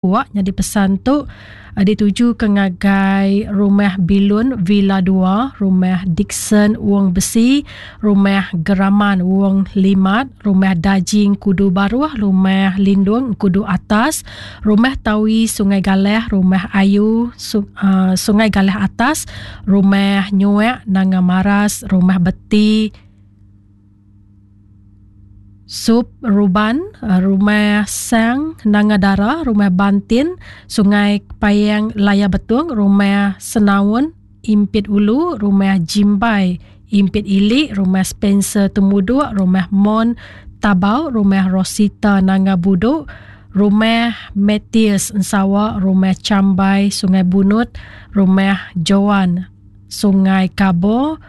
Wak nyadi pesan tu ditujuka ngagai Rumah Bilun Villa dua, Rumah Dickson Wong Besi, Rumah Geraman Wong Limat, Rumah Dajing Kudu Baruh, Rumah Lindung Kudu Atas, Rumah Tawi Sungai Galeh, Rumah Ayu Sungai Galeh Atas, Rumah Nyuek Nanga Maras, Rumah Beti, Sup Ruban, Rumah Sang Nanga Dara, Rumah Bantin, Sungai Payang Laya Betung, Rumah Senaun Impit Ulu, Rumah Jimbai Impit Ili, Rumah Spencer Temuduk, Rumah Mon Tabau, Rumah Rosita Nanga Buduk, Rumah Mathias Ensawa, Rumah Chambai Sungai Bunut, Rumah Joan Sungai Kabo,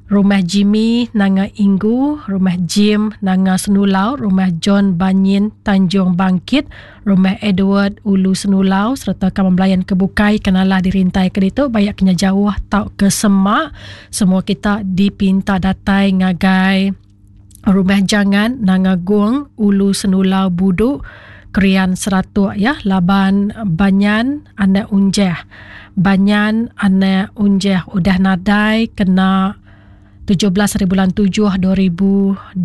Rumah Jimmy Nanga Inggu, Rumah Jim Nanga Senulau, Rumah John Banyin Tanjung Bangkit, Rumah Edward Ulu Senulau sereta kaban belayan ke bukai ke nalah dirintai ke ditu bayak ke nya jauh tauka semak. Semua kita dipinta datai ngagai Rumah Jangan Nanga Gong Ulu Senulau Budu Krian Seratuk ya laban Banyan anak Unjeh. Banyan anak Unjeh udah nadai kena 17 hari bulan 7 2026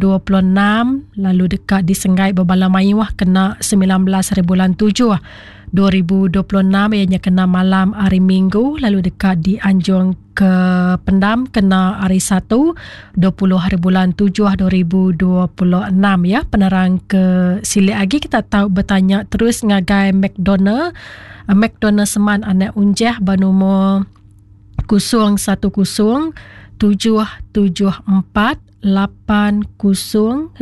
lalu deka disenggai bebala mayuh kena 19 hari bulan 7 2026 iya nya kena malam hari Minggu lalu deka dianjung ke pendam kena hari Satu 20 hari bulan 7 2026 ya. Penerang ke silik agi kita tau betanya terus ngagai McDonald McDonald Seman anak Unjeh ba numur 010 774 8027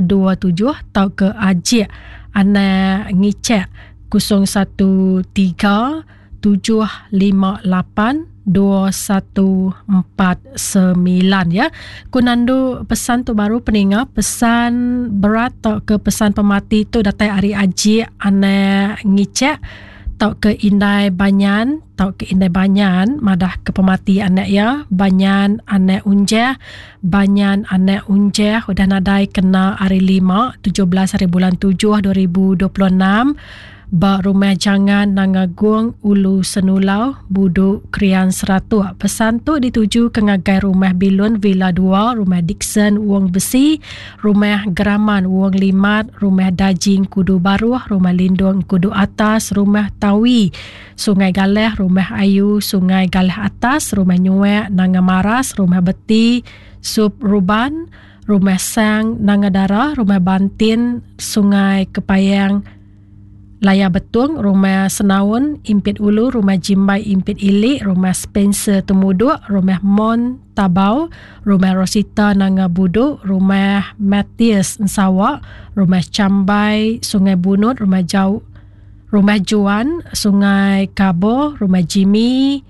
tauka Ajik anak Ngicek 013 758 2149 ya. Ku nandu pesan tu baru peninga pesan berat tauka pesan pemati tu datai ari Ajik anak Ngicek tauka Indai Banyan tauka Indai Banyan madah ke pemati anak iya Banyan anak Unjeh Banyan anak Unjeh udah nadai kena hari lima 17 hari bulan 7 2026 Ba Rumah Jangan Nanga Gong Ulu Senulau, Budu, Krian Seratuk. Pesan tu dituju ke ngagai Rumah Bilun Villa dua, Rumah Dickson Wong Besi, Rumah Geraman Wong Limat, Rumah Dajing Kudu Baruh, Rumah Lindung Kudu Atas, Rumah Tawi, Sungai Galeh, Rumah Ayu, Sungai Galeh Atas, Rumah Nyuek, Nanga Maras, Rumah Beti, Sup Ruban, Rumah Sang, Nanga Dara, Rumah Bantin, Sungai Kepayang, Laya Betung, Rumah Senaun, Impit Ulu, Rumah Jimbai Impit Ili, Rumah Spencer Temuduk, Rumah Mon Tabau, Rumah Rosita Nanga Buduk, Rumah Mathias Ensawa, Rumah Chambai Sungai Bunut, Rumah Jau, Rumah Juan Sungai Kabo, Rumah Jimmy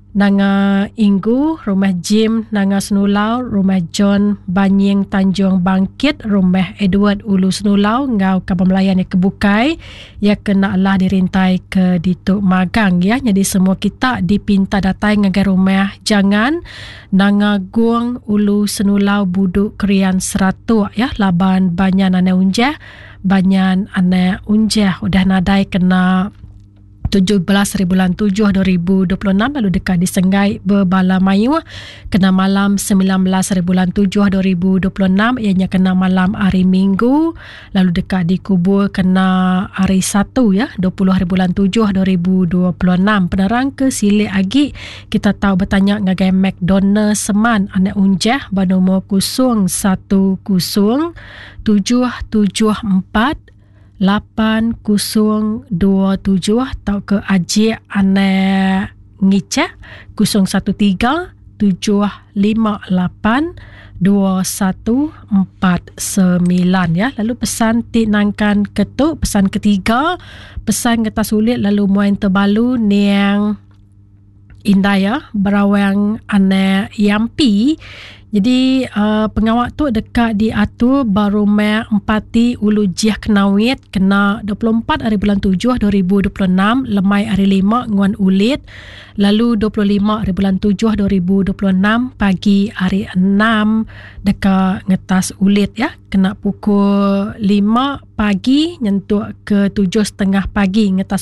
Nanga Inggu, Rumah Jim Nanga Senulau, Rumah John Banying Tanjung Bangkit, Rumah Edward Ulu Senulau enggau kaban belayan iya ke bukai iya ke enda alah dirintai ke ditu magang iya. Nyadi semua kita dipinta datai ngagai Rumah Jangan Nanga Gong Ulu Senulau Budu Krian Seratuk iya laban Banyan Anak Unjah Banyan Anak Unjah udah nadai kena 17 hari bulan 7 2026 lalu deka disenggai bebala mayuh kena malam 19 hari bulan 7 2026 iya nya kena malam hari Minggu lalu deka dikubur kena hari Satu ya 20 hari bulan 7 2026. Penerang ke silik agi kita tau betanya ngagai McDonald Seman anak Unjah ba nomor 010 774 8027 tauka Ajik anak Ngicak 013 758 2149 ya. Lalu pesan ti nangkan ke tu pesan ketiga pesan ngetas ulit lalu muai tebalu niang. Indai iya Berawang Anak Yampi. Jadi uh, pengawa tu deka diatur ba rumah Empati Ulu Jih Kenawit kena 24 hari bulan 7 2026 lemai hari 5 nguan ulit lalu 25 hari bulan 7 2026 pagi hari 6 deka ngetas ulit ya kena pukul 5 pagi nyentuk ke 7.30 pagi ngetas.